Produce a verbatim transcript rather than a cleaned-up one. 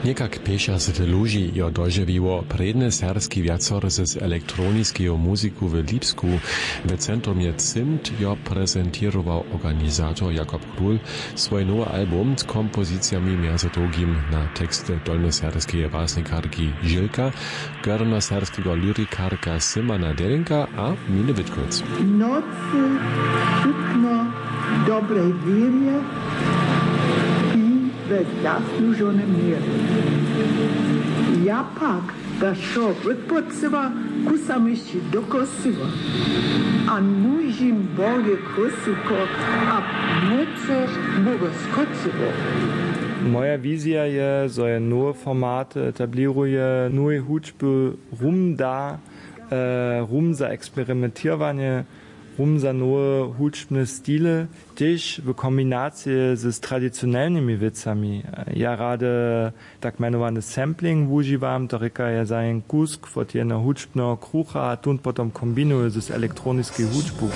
Někak pěšćdźesat ludźi jo dožiwiło prědny serbski wjacory z elektroniskeju muziku w Lipsku. W centrumje Zimt jo prezentěrował organizator Jakob Król swój nowy album z kompozicijami mjez drugim na teksty dolnjoserbskeje basnikarki Žilka, górnjoserbskeho lyrikarka Simana Delinka a Miny Witkowc. Nocy, sutno, dobrej wěrje, pi we zaslužonym měrje. Ja pak da wšo wotpocyła, kusam hišći do kosyła. A nužim Boje kosyłko a młóce Boga skocyło. Moja wizija je, zo je nowe formaty etablěruje, nowej hudźby rum da, rum za eksperimentiranje, rum za nowe hudźbne stile, tež w kombinacije z tradicionelnymi wěcami. Ja rady tak mjenowany sampling wužiwam, to rěka, ja zajem kusk wot jedneho hudźbneho krucha a tón potom kombinuju z elektroniskej hudźbu.